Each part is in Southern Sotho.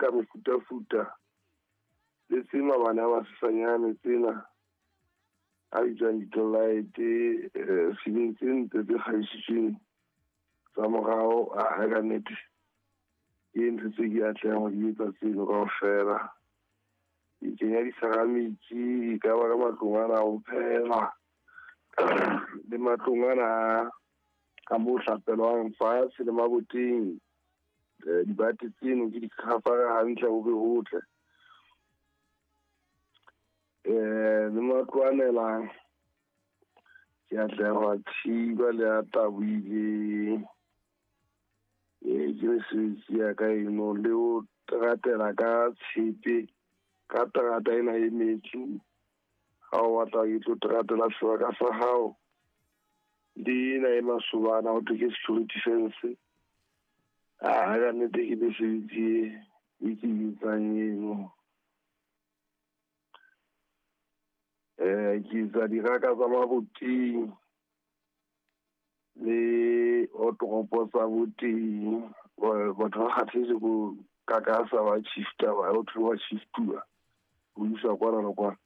Ka mefutafuta le tse mabane a masesanyane tsena a bitswang di-light ceiling tse ntle tse kgabisitsweng tsa morao. A ka nnete ke ntho tse ke atlehang ho di etsa tseno kaofela. Ke kenya di-ceramic e ka ba ka matlong ana a ho phehela le matlong ana a mo hlapelwang fatshe le maboteng. Dibate tseno ke di-cover-a hantle, ho be hotle le matlo a nelang ke atleha ho a thiba le a tabohileng. Ee, ke mesebetsi ya ka eno le ho teratela ka tshepe ka terata ena e metsi. Ha o batla ke tlo teratela sebaka sa hao le ena e masobana ho thwe ke security fence. A ka nnete ke mesebetsi e ke e etsang eno. Ke etsa diraka tsa maboteng le wardrobe tsa boteng. Batho ba kgathetse ko kakasa ba shifta ba ho thwe wa shiftuwa ho iswa kwana le kwana.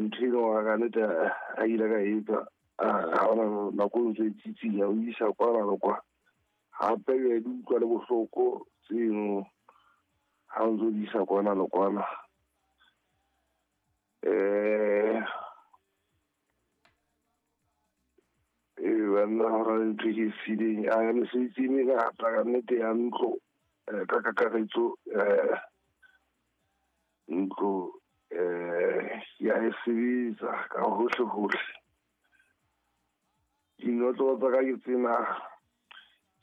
Ntho eno ka nnete ha ile ka etsa ha hona nako e ntso e tsitsinya o isa kwana le kwana. Hape ke di utlwa le bohloko tseno ha o ntso di isa kwana le kwana. Banna hona le ntho e ke e sileng a mesebetsi e mengata ka nnete ya ntlo ka kakaretso. Ntlo ya e sebetsa ka hohle hohle. Dinotlolo tsa ka ke tsena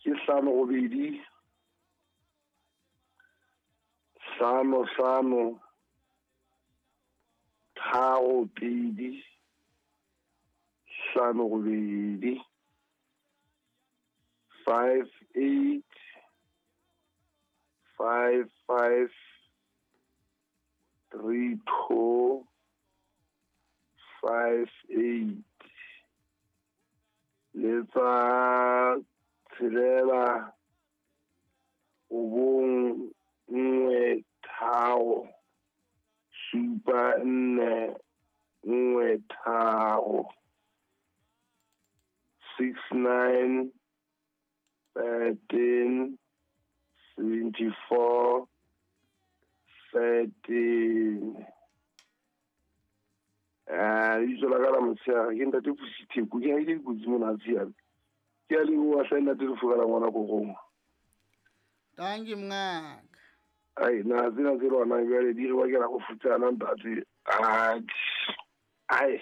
ke 5 8 5 5 3 2 5 8 5 8 5 5 3 2 5 8 le tsa 6 9 1 3 7 4 1 3 6 9 13 74 13. Lebitso la ka la motshehare ke ntate Pusi Theko. Ke haile dikotsi mona tshiame. Ke a leboha hle ntate Lefuka la ngwana korong. Thank you mngaka. Ai na tsena tse lwanang jwale di re bakela go futsana ntate. Ai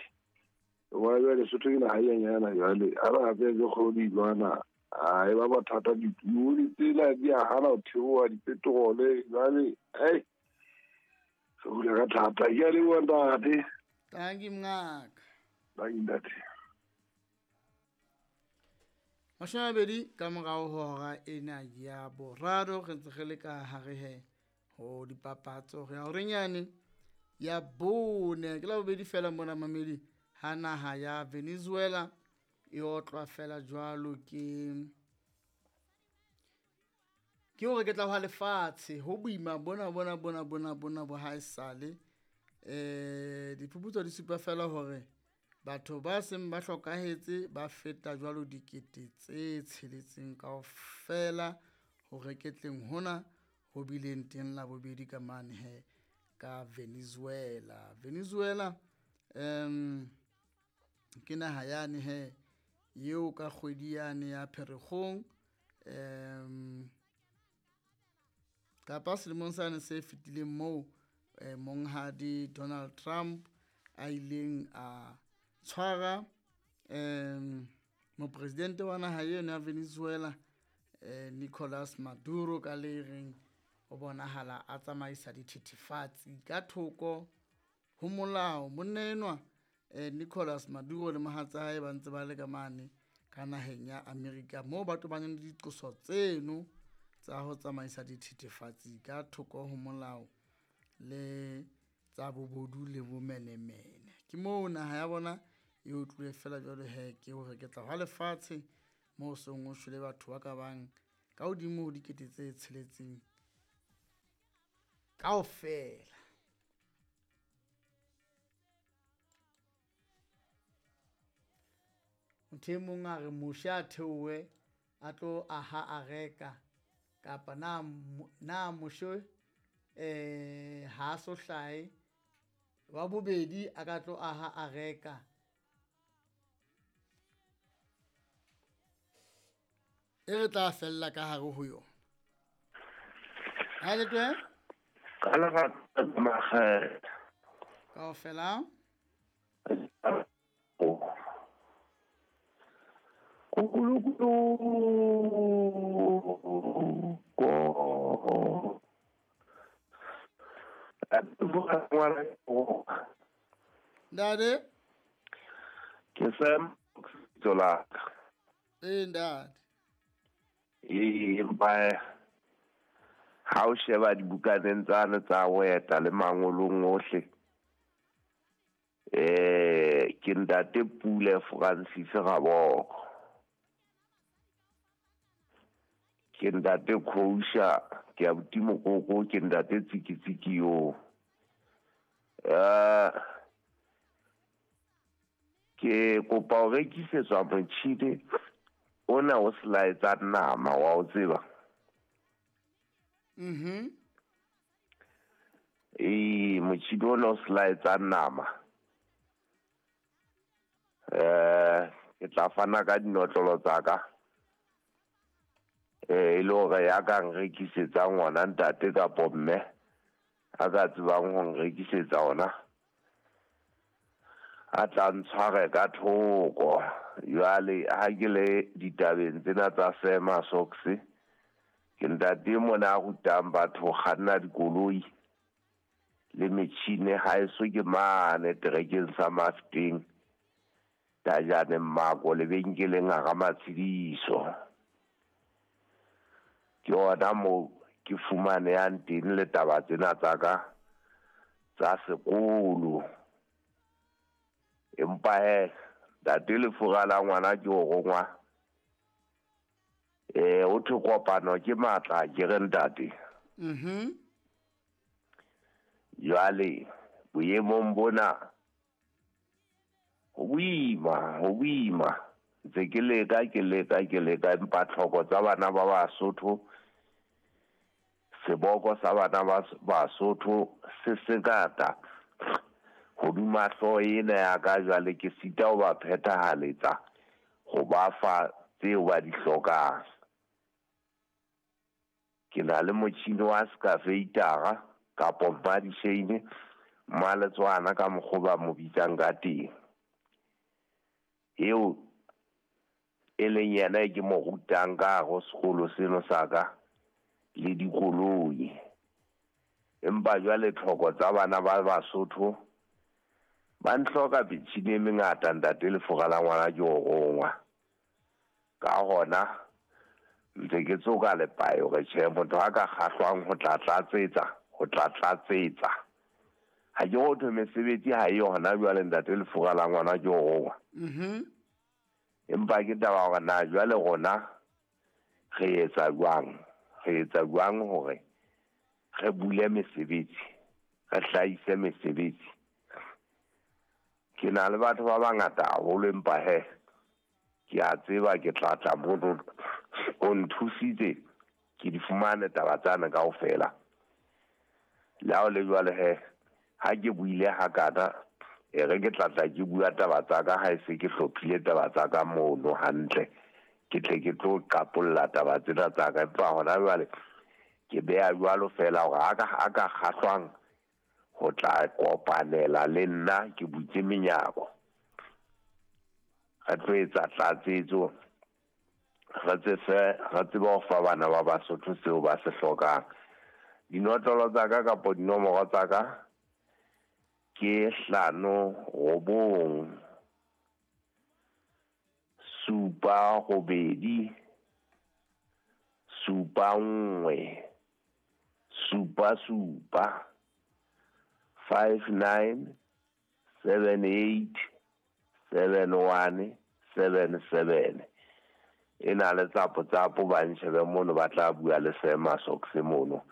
wa jwale Sotho ke naha e nyana jwale a ba hape ke kgolo di lwana. Ai ba bothata dipuo tsena di a hana ho theoha dipetrole jwale. Ai re hula ka thata. Ke a leboha ntate. Thank you mngaka. Thank you ntate. 20 ka morao ho hora ena ya boraro re ntse re le ka hare he ho dipapatso re ya horenyane ya bone ke la bobedi fela mona mamedi ha naha ya Venezuela e otlwa fela jwalo ke hore ke tla hwa lefatshe ho boima bona bona bona bona bona bo ha esale. Diphuputso di supa fela hore batho ba seng ba hlokahetse ba feta jwalo 6,000 kaofela ho reketleng hona ho bileng teng la bobedi ka mane he ka Venezuela. Venezuela ke naha yane he eo ka kgwedi yane ya Pherekgong kapa selemong sane se fetileng moo monghadi Donald Trump a ileng a tshwara mopresidente wa naha eno ya Venezuela Nicolas Maduro ka le reng o bonahala a tsamaisa dithethefatsi ka thoko ho molao. Monna enwa Nicolas Maduro le mohatsa hae ba ntse ba le ka mane ka naheng ya Amerika moo ba tobaneng le diqoso tseno tsa ho tsamaisa dithethefatsi ka thoko ho molao le tsa bobodu le bomenemene. Ke moo naha ya bona e utluwe fela jwalo he ke hore ke tla hwa lefatshe moo seng o shwele batho ba ka bang ka hodimo ho 6,000. Kaofela. Motho e mong a re Moshe a theohe a tlo aha areka kapa na Moshe ha so hlahe wa bobedi a ka tlo aha areka. E re tla fella ka hare ho yona. Ha le twe? Ka lerato makgetha. Kaofela. Ntate? Ke Sam lebitso la ka. Ee, ntate. Ee, empa ha o sheba dibukaneng tsane tsa ho eta le mangolong ohle, ke ntate Pule Francis Raboko. Ke ntate Khousha, ke abuti Mokoko, ke ntate Tsikitsiki yo. Ke kopa ho rekisetswa motjhini ona o selaetsang nama wa o tseba. Ee, motjhini ona o selaetsang nama. Ke tla fana ka dinotlolo tsa ka. E le hore ya ka nrekisetsang ona ntate kapo mme a ka tsebang ho nrekisetsa ona a tla ntshware ka thoko. Jwale ha ke le ditabeng tsena tsa Sema Socks, ke ntate mona a rutang batho ho kganna dikoloi le metjhini. Haeso ke mane terekeng sa Mafteng, Tajane Mmako, lebenkeleng hara Matshediso. Ke ona moo ke fumanehang teng le taba tsena tsa ka tsa sekolo. Empa he ntate lefura la ngwana ke o rongwa. O thwe kopano ke matla, ke re ntate. Jwale boemong bona ho boima. Ntse ke leka empa tlhoko tsa bana ba Basotho, seboko sa bana ba Basotho se sengata hodima hlooho ena ya ka. Jwale ke sita ho ba phethahaletsa ho ba fa tseo ba di hlokang. Ke na le motjhini wa skafeitara kapo mmadisheine, mmaletswana ka mokgwa ba mo bitsang ka teng, eo e leng yena e ke mo rutang ka hare ho sekolo seno sa ka le dikoloi. Empa jwale tlhoko tsa bana ba Basotho ba ntlhoka metjhini e mengata ntate lefura la ngwana ke o rongwa. Ka hona ntse ke tsoka lepae hore tjhe, motho a ka kgahlwang ho tla tlatsetsa. Ha ke ho thwe mesebetsi ha e hona jwale ntate lefura la ngwana ke o rongwa. Empa ke taba hore na jwale rona re etsa jwang hore re bule mesebetsi, re hlahise mesebetsi. Ke na le batho ba bangata haholo, empa he ke a tseba ke tla tla mono o nthusitse ke di fumane taba tsane kaofela. Le ha o le jwale he ha ke buile hakana, e re ke tla tla ke bua taba tsa ka ha e se ke hlophile taba tsa ka mono hantle, ke tle ke tlo qapolla taba tsena tsa ka. Empa hona jwale ke beha jwalo fela hore a ka kgahlwang ho tla kopanela le nna, ke butse menyako. Re tlo etsa tlatsetso, re tsebe ho fa bana ba Basotho seo ba se hlokang. Dinotlolo tsa ka kapo dinomoro tsa ka ke 5 9 7 8 7 1 7 7 5 9 7 8 7 1 7 7. E na le tsapo ba nshebe mono, ba tla bua le Sema Socks mono.